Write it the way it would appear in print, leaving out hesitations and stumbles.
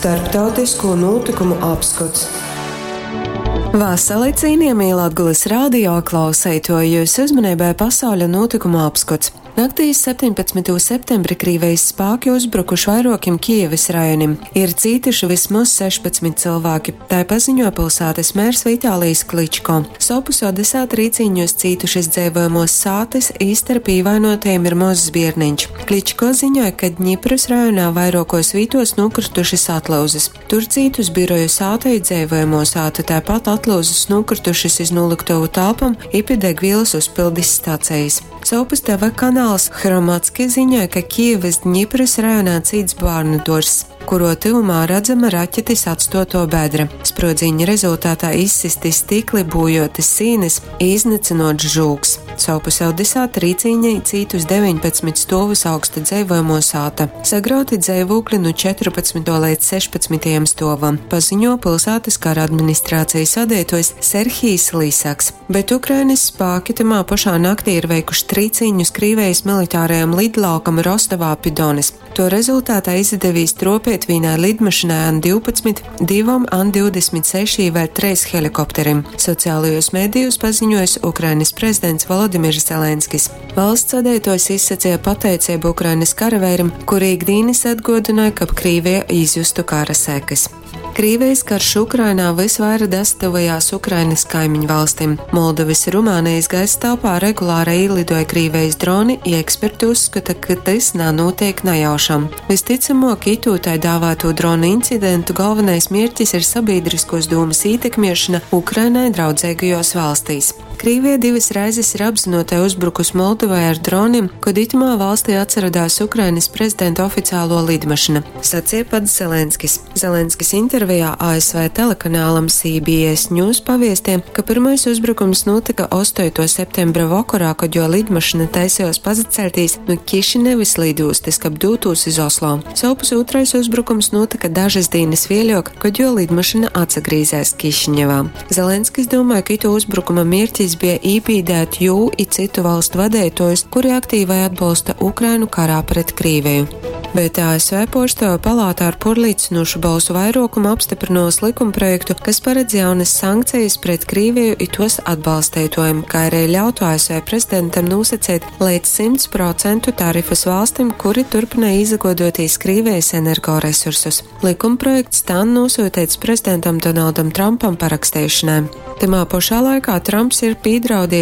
Starptautisko nūtykumu apskots. Vasali, cienījamie Latgulas radio klauseitoji, jūsu uzmanībai pasauļa nūtykumu apskots. Naktī iz 17. septembri Krīvejis spāki uzbrukuši vairuokim Kijevys rajonim. Ir cītuši vysmoz 16 cylvāki, tai paziņuoja pilsātys mērs Vitālijs Kličko. Sovpus Odesā trīcīņūs cītušys dzeivojamuos sātys, i starp īvainuotajim ir mozs bierneņš. Kličko ziņoja, ka Dņiprys rajonā vairuokuos vītuos nūkrytušys atlūzys. Tur cītus biroju sāta i dzeivojamuo sāta, taipat atlūzys nūkrytušys iz nūlyktovu telpom i pi degvīlys uzpildis stacejis. Sovpus TV kanāls Hromadske ziņoja, ka Kijevys Dņiprys rajonā cīts bārnu duorzs, kuruo tyvumā radzama raķetis atstuotuo bedre. Spruodzīņa rezultatā izsysti stikli, būjuotys sīnys i iznycynuots žūgs. Sovpus Odesā trīcīņī cītus 19 stuovus augsta dzeivojamuo sāta. Sagrauti dzeivūkli nu 14. leidz 16. stuovam, paziņo pilsātys kara administrācijas vadeituojs Serhijs Lisaks. Bet Ukrainys spāki tymā pošā naktī ir veikuši trīcīņus Krīvejis militārajam lidlaukam Rostovā pi Donis. Tuo rezultātā izadevīs truopeit vīnai lidmašynai An-12, divom An-26 i vēļ treis helikopterim, socialajūs medijūs paziņuojs Ukrainys prezidents Volodimirs Zelenskis. Valsts vadeituojs izsaceja pateiceibu Ukrainys karaveirim, kuri ik dīnys atguodynoj, kab Krīveja izjustu kara sekys. Krīvejis karš Ukrainā vysvaira dasatyvojās Ukrainys kaimiņvalstim. Moldovys i Rumānejis gaisa telpā regulārai īliduoja Krīvejis droni, i eksperti uzskota, ka tys nanūteik najaušam. Vystycamuok, itū tai dāvātū dronu incidentu golvonais mierķis ir sabīdryskuos dūmys ītekmiešona Ukrainai draudzeigajos valstīs. Krīvija divys reizis ir apzynuotai uzbrukus Moldovai ar dronim, kod itymā valstī atsarodās Ukrainys prezidenta oficiāluo lidmašyna, saceja pats Zelenskis. Zelenskis intervejā ASV telekanālam CBS News paviestie, ka pyrmais uzbrukums nūtyka ostoituo septembra vokorā, kod juo lidmašyna taisejuos pasaceļtīs nu Kišinevys lidūstys, kab dūtūs iz Oslo. Sovpus ūtrais uzbrukums nūtyka dažys dīnys vieļuok, kod juo lidmašyna atsagrīzēs Kišinevā. Zelenskis dūmoj, ka ituo uzbrukuma mierķis bija ībīdēt jū i cytu valstu vadeituojus, kuri aktīvai atbolsta Ukrainu karā pret Krīveju. Bet ASV Puorstuovu palāta ar puorlīcynūšu bolsu vairuokumu apstyprynuos likumprojektu, kas paredz jaunys sankcejis pret Krīveju i tuos atbalsteituojim, kai ari ļautu ASV prezidentam nūsaceit leidz 100% tarifus valstim, kuri turpynoj īsaguoduotīs Krīvejis energoresursus. Likumprojekts tān nūsyuteits prezidentam Donaldam Trumpam paraksteišonai. Tymā pošā laikā Trumps ir pīdraudiejs.